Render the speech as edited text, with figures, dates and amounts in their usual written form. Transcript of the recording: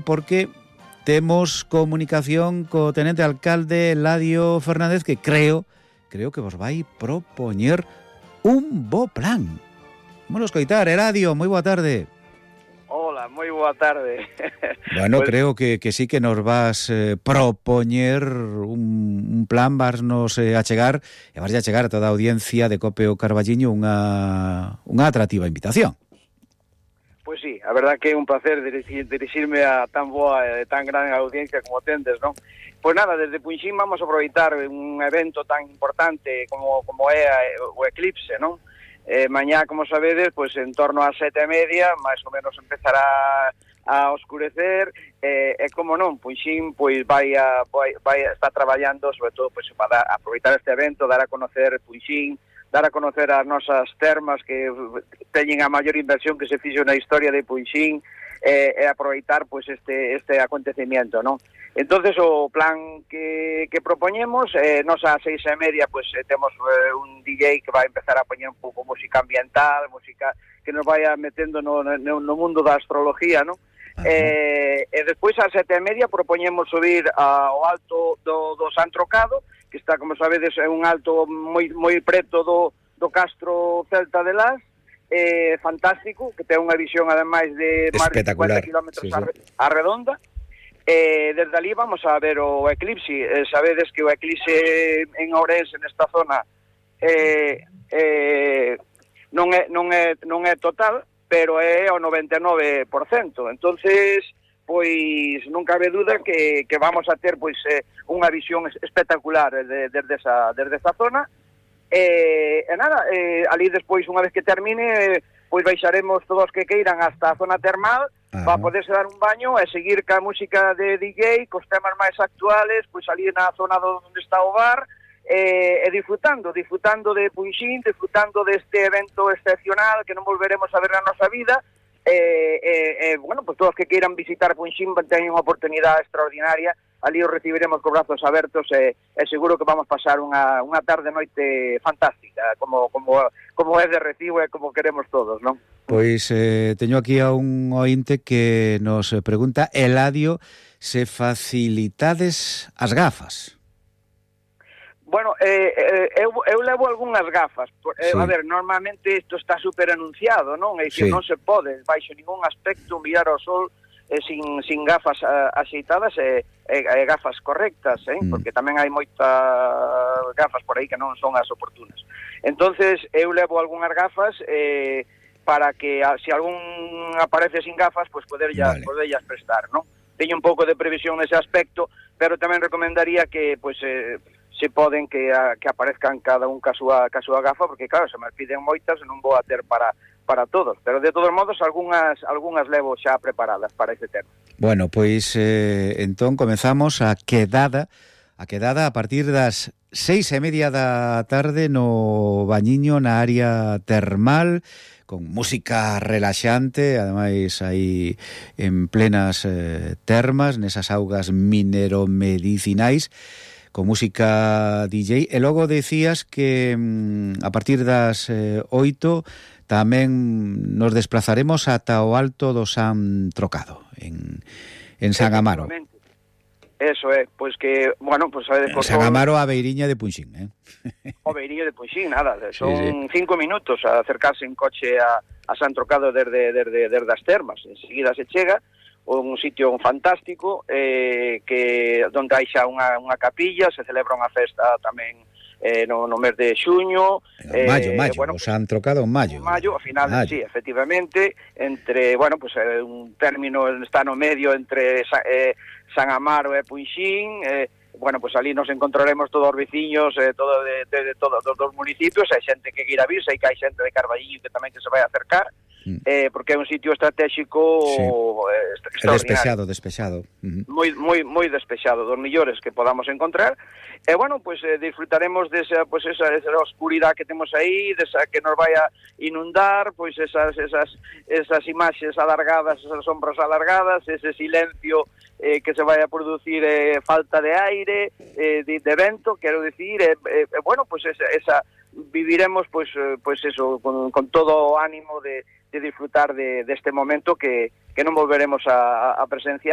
porque temos comunicación co tenente alcalde Eladio Fernández, que creo que vos vai propoñer un bo plan. Vamos a escoitar, Eladio, moi boa tarde. Hola, moi boa tarde. Bueno, pues, creo que sí que nos vas propoñer un plan, vasnos achegar, e vas a chegar a toda a audiencia de Cope o Carballiño unha atractiva invitación. Pois sí, a verdad que é un placer dirixirme a tan boa e tan gran audiencia como tendes, non? Pois nada, desde Punxín vamos a aproveitar un evento tan importante como é o Eclipse, non? Mañá, como sabedes, pois en torno ás 7:30, máis ou menos empezará a oscurecer, e como non, Punxín pois vai estar traballando, sobre todo pois para aproveitar este evento, dar a conocer Punxín, dar a conocer as nosas termas que teñen a maior inversión que se fixo na historia de Punxín, e aproveitar pois este acontecimiento, non? Entonces o plan que propoñemos, nos a 6:30 pois temos un DJ que vai empezar a poñer un pouco música ambiental, música que nos vai metendo no mundo da astrología, non? E despois a 7:30 propoñemos subir ao alto do San Trocado, que está, como sabedes, é un alto moi preto do Castro Celta de Las, fantástico, que ten unha visión ademais de máis de 50 km sí. A redonda. Desde ali vamos a ver o eclipse. Sabedes que o eclipse en Ourense, nesta zona, non é total, pero é o 99%. Entonces, pois non cabe duda que vamos a ter pois unha visión espectacular desde esa zona. Nada, ali despois, unha vez que termine, pois baixaremos todos que queiran hasta a zona termal para poderse dar un baño e seguir ca música de DJ, cos temas máis actuales, pois ali na zona onde está o bar, e disfrutando de Punxín, disfrutando deste evento excepcional que non volveremos a ver na nosa vida. Bueno, pues todos que queiran visitar Punxín teñen unha oportunidade extraordinaria. Ali os recibiremos con brazos abertos, e seguro que vamos pasar unha tarde noite fantástica, como é de recibo e como queremos todos, non? Pois teño aquí a un ointe que nos pregunta, Eladio, se facilitades as gafas. Bueno, eu levo algunhas gafas. Sí. A ver, normalmente isto está super anunciado, non? É dicir, sí, non se pode, baixo ningún aspecto, mirar ao sol sin gafas axeitadas e gafas correctas, porque tamén hai moitas gafas por aí que non son as oportunas. Entonces, eu levo algunhas gafas para que, se algún aparece sin gafas, pues poderllas prestar, non? Teño un pouco de previsión nese aspecto, pero tamén recomendaría que, pues, se poden que aparezcan cada un ca súa gafa, porque claro, se me piden moitas e non vou a ter para todos, pero de todos modos algunhas levo xa preparadas para ese tema. Bueno, pois entón comezamos a quedada a partir das 6:30 da tarde no Bañiño, na área termal, con música relaxante, ademais aí en plenas termas, nesas augas mineromedicinais, con música DJ, e logo decías que a partir das 8 tamén nos desplazaremos ata o alto do San Trocado, en San Amaro. Eso é, pois que, bueno, pois sabedes por San Amaro a beiriña de Punxín, O beiriño de Punxín, nada, son 5 minutos a acercarse en coche a San Trocado desde as termas. Enseguida se chega, un sitio fantástico, que onde hai xa unha capilla, se celebra unha festa tamén no mes de xuño, maio, bueno, o San Trocado en maio, ao final, sí, efectivamente, entre, bueno, pues un término está no medio entre San Amaro e Punxín. Bueno, pues ali nos encontraremos todos os veciños, todo de todos os municipios. Hai xente que queira vir, sei que hai xente de Carballiño que tamén que se vai acercar, porque é un sitio estratégico, sí, extraordinario. Despexado. Moi despexado, dos millores que podamos encontrar. E bueno, pues disfrutaremos desa oscuridade que temos aí, desa que nos vai a inundar, pues esas imaxes alargadas, esas sombras alargadas, ese silencio que se vai a producir, falta de aire, de vento, quero dicir, bueno, pues esa viviremos pues eso con todo o ánimo de disfrutar de este momento que non volveremos a presenciar.